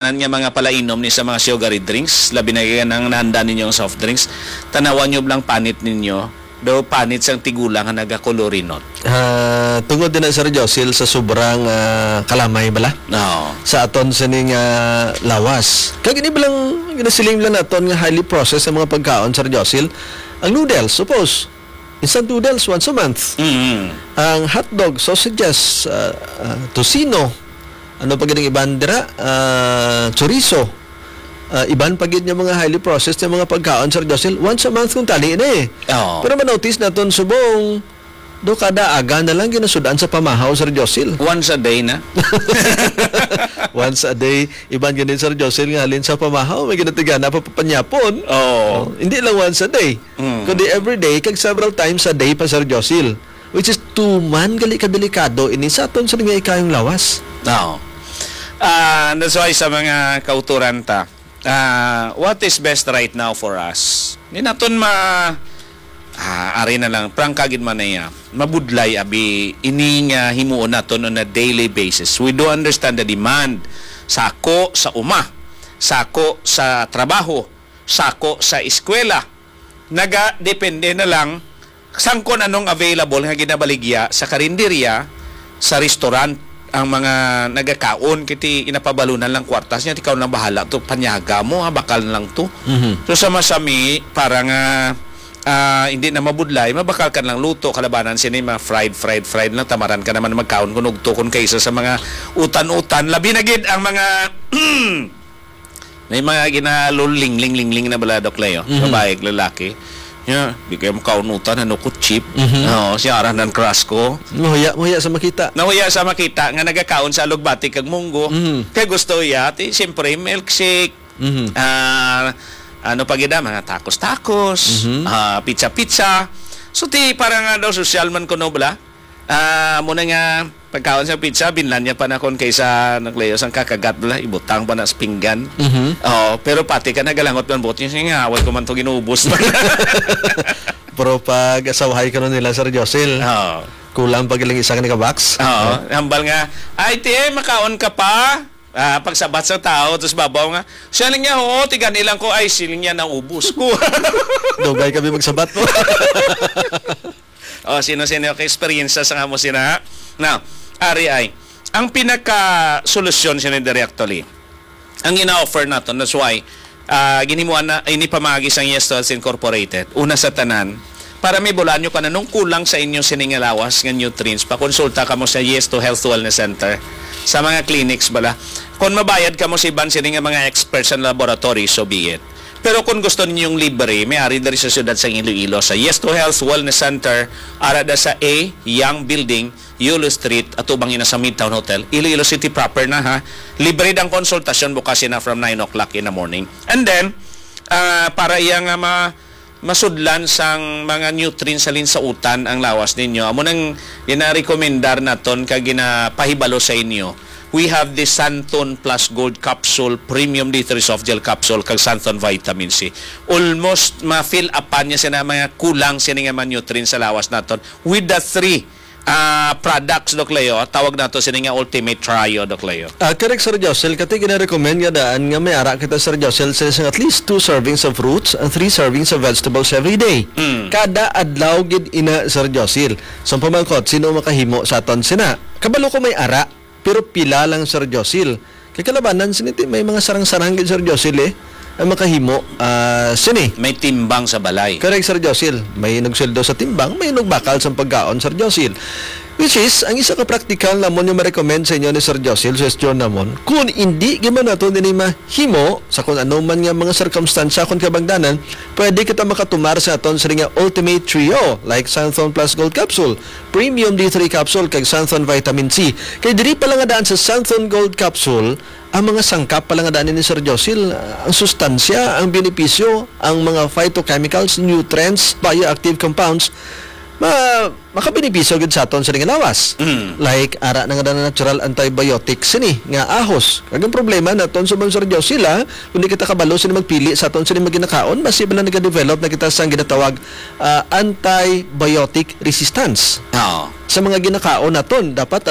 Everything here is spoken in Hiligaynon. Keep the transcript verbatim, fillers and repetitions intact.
tanan nga mga palainom ni sa mga sugary drinks, labi na kay ang nahanda ninyo ang soft drinks, tanawan nyo lang panit ninyo, daw panit sang tigulang nga nagakolorinot. Ah, tungod din na, Sir Josil, sa sobrang, ah, kalamay bala Oo. sa aton sining, ah, lawas. Kag ini ba lang ginasiling lang naton nga highly processed ang mga pagkaon, Sir Josil? Ang noodles, suppose, instant noodles once a month. Mm. Ang hotdog, sausages, ah, ah, tocino, ano pa gid ang iban dira? Ah, chorizo. Ah, iban pa gid nga mga highly processed nga mga pagkaon, Sir Josil, once a month kung tali na eh. Oo. Pero manotice naton subong, do kada aga na lang ginasud-an sa pamahaw, Sir Josil. Once a day na. Once a day. Iban gani, Sir Josil, nga halin sa pamahaw, may ginatigana pa papanyapon. Oo. Oh, hindi lang once a day. Mm. Kundi every day, kag several times a day pa, Sir Josil. Which is tuman gali ka delikado ini sa aton sa nga ikayong lawas. Oo. Ah, that's why sa mga kauturan ta, ah, what is best right now for us? Di naton ma-, ah, ari na lang, prangka gid man niya. Mabudlay, abi, ini nga himuon naton on a daily basis. We do understand the demand. Sako sa uma, sako sa trabaho, sako sa eskwela. Nagadepende na lang sang kon anong available nga ginabaligya sa karinderya, sa restaurant, ang mga nagakaon, kiti inapabalunan lang kwartas niya, ikaw lang bahala to, panyaga mo, ha, bakal lang to. Mhm. So, sa masami, para nga, ah, hindi na mabudlay, mabakal ka lang luto, kalabanan sini, mga fried, fried, fried lang, tamaran ka naman magkaon kung ugto, kung kaisa sa mga utan-utan, labi na gid ang mga May mga ginalulingling-lingling na bala, Doc Leo. Mhm. Babae, lalaki. Ya, di kayo makaunutan, ano ko, cheap. Mhm. Oo, si Aran ng Crash ko. Mahuya, mahuya sa makita. Nahuya sa makita nga nagakaon sa alugbati kag munggo. Mhm. Kay gusto iya, ti, siyempre, milkshake. Mhm. Ah, ano pa gid, ah, mga tacos-tacos, Mhm. ah, pizza-pizza. So, ti, para nga daw sosyal man kuno bala. Ah, muna nga, pagkaon sa pizza, binlan niya pa na kon kaysa naglayo sang kakagat bala, ibutang pa na sa pinggan. Mhm. Oo, pero pati ka nagalangot man buot niya, "Sige nga, awat ko man to ginubos." Pero pag asawahay ka nun nila, Sir Josil, Oo. kulang pa giling isa ka ni ka box. Oo, No? hambal nga, "Ay, ti, makaon ka pa?" Ah, pagsabat sa tao, tapos babaw nga, siya lang niya, "Oo, tigan ilang ko, ay, siling niya, naubos ko." Dugay kami magsabat mo. O, sino-sino ka eksperyensya sa nga mo sina? Now, ari ay, ang pinaka-solusyon sini diri actually, ang ina-offer naton, that's why, ah, ginimuan na, ini pamagi sang Yes to Health Incorporated. Una sa tanan, para may bulan nyo ka na nung kulang sa inyo sini nga lawas nga nutrients, pakonsulta ka mo sa Yes to Health Wellness Center, sa mga clinics bala. Kung mabayad ka mo sa iban sini nga mga experts sa laboratory, so be it. Pero kung gusto ninyong libre, may ari diri sa siyudad sang Iloilo, sa Yes to Health Wellness Center, ara da sa A Young Building, Yulo Street, atubang ina sa Midtown Hotel, Iloilo City proper na, ha. Libre dang konsultasyon bukas ina from nine o'clock in the morning. And then, ah, para iya nga ma-, masudlan sang mga nutrients halin sa utan ang lawas ninyo, amo nang ginarekomendar naton kag ginapahibalo sa inyo. We have the Santon Plus Gold Capsule, Premium D three Soft Gel Capsule, kag Santon Vitamin C. Almost ma-fill upan niya sina mga kulang sini nga mga nutrients sa lawas naton with the three, ah, products, Doc Leo. Tawag nato sini nga Ultimate Trio, Doc Leo. Ah, correct, Sir Josel. Kati gina-recommend nga daan nga may ara kita, Sir Josel, sa isang at least two servings of fruits and three servings of vegetables every day. Mm. Kada adlaw gid ina, Sir Josel. Sa pamangkot, sino makahimo sa aton sina? Kabalo ko may ara, pero pila lang, Sir Josil? Kay kalabanan sini ti may mga sarang-sarang gid, Sir Josil, eh, ang makahimo, ah, sini. May timbang sa balay. Correct, Sir Josil. May nagsweldo sa timbang, may nagbakal sa pagkaon, Sir Josil. Which is, ang isa ka praktikal namon nga ma-recommend sa inyo ni Sir Josil, suggestion namon, kung hindi gyud man nato nini mahimo, sa kung ano man nga mga sirkumstansya, kung kabangdanan, pwede kita makatumar sa aton sini nga Ultimate Trio, like Santhon Plus Gold Capsule, Premium D three Capsule, kag Santhon Vitamin C. Kay diri pa lang nga daan sa Santhon Gold Capsule, ang mga sangkap pa lang nga daan ni Sir Josil, ang sustansya, ang benepisyo, ang mga phytochemicals, nutrients, bioactive compounds, ma-, makabenepisyo gid sa aton sa nga lawas. Mm. Like, ara na nga daan natural antibiotic sini nga ahos. Kag ang problema naton sa mga Sir Josil, ah, kung di kita kabalo sini magpili sa aton sini maginakaon, basi bala nagadevelop na kita sa ginatawag, ah, antibiotic resistance. Oo. Sa mga ginakaon naton, dapat